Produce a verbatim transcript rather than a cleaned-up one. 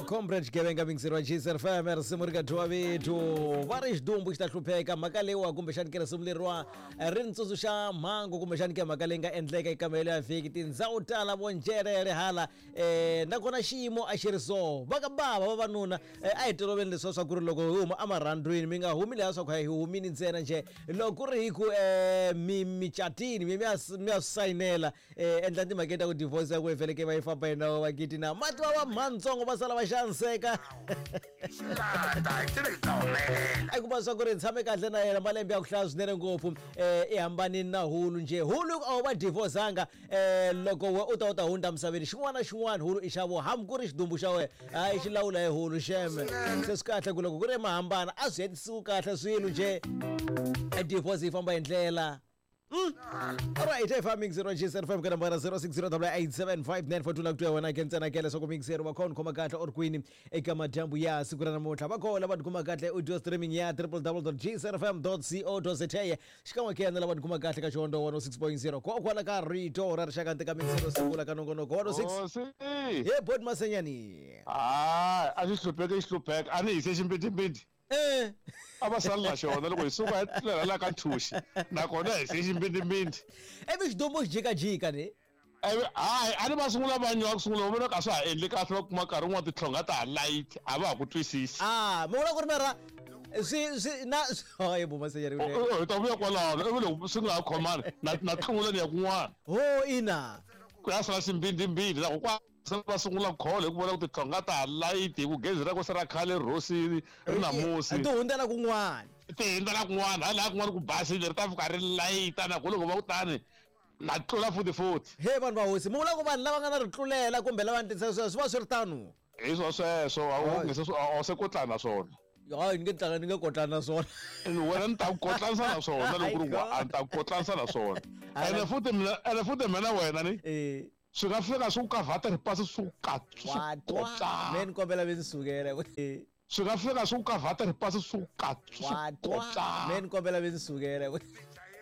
Comrade Xigevenga mixer wa G S F M, risimu ri ka dyiwa vito va ri xidumbu xi ta hlupheka. Mhaka leyiwa kumbexani ke risimu leriwa ri ni tsundzuxa mhangu kumbexani ke mhaka leyi nga endleka eka mahelo ya vhiki. Tindhawu tala vo njerere hala um nakona xiyimo a xi ri so. Va ka bava vavanuna a hi toloveni leswiya swa ku ri loko hi huma emarhandzwini mi nga humi leya swa ku hi humini ntsena njhe. Loko ku ri hi ku um mi micatini mi mi ya mi ya swi sayinela um endla timhaka ta ku divorce ya ku hi va yi famba hi nawu wa gidi na mati va va mhantsongo va sala va xaniseka. A kuma swa ku ri tshame kahle na yena malembe ya ku hlaya swinene ngopfu um i hambanini na hulu njhe. Hulu a wu va divorcanga um loko we u ta u ta hundza misaveni xin'wana na xin'wana hulu i xa vo hambi ku ri xidumbu xa wena hayi xi lawula hi hulu xeme. Se swi kahle ku loko ku ri mahambana a swi hetisiwi kahle swilo njhe, divorce yi famba hi ndlela. Mm. All right, F M zero G S F M ka nambara zero six zero eight seven five nine four two la ku twa wena ke ntsena ke leswaku mixer va khona khoma kahle or kwini eka madyambu ya siku ra namuntlha. Va kona va tikuma kahle audio streaming ya w w w dot g s f m dot co dot z a xikan'we ke na lava tikuma kahle ka Xihondzo one oh six point zero kokwala ka rito ra rixaka nte ka mixer sungula ka nongonoko one oh six. He bot Masenyani. Ah, a xi hlupheke xi hlupheka a ni hise ximbitimbiti. Eh. A va sali na xona loko hi suka hi tlulela la ka nthuxi nakona hi se ximbindimbindi. Ivi xidumbu xi jikajika ni hayi a ni va sungula va nywa ku sungula va vona ka swa ha endli kahle va kuma nkarhi wun'wana titlhonga ta ha light a va ha ku twisisi. Ah, mi vula ku ri mara swi swi na hayi bo Masenyani hi ta vuya kwalano ivi loko swi nga ha khomani na na tlungula ni ya kun'wana. Ho ina ku ya sala ximbindimbindi loko kwa va sungula kholo hi ku vona ku titlhonga ta ha light hi ku gezi ra ku se ra khale rosini ri na musi ti hundzela kun'wana ti hundzela kun'wana hala kun'wana ku basile ri ta fika ri layita na ku loko va ku tani na tlula futhi futhi. He vanhu va hosi mi vula ku vanhu lava nga na ritlulela kumbe lava ni sweswo swi va swi ri tano hi swo sweswo a wu nge se a se kotlana na swona. Hayi ni nge tlanga ni nge kotlana na swona wena ni ta ku kotlanisa na swona loko ku ri a ni ta ku kotlanisa na swona. Ene futhi mina ene futhi mina wena ni eh swi nga fika swi ku kavhata ripasi swi ku ka me ni kombela mi ni sukela. Swi nga fika swi ku kavhata ripasi swi ku ka me ni kombela mi ni sukela.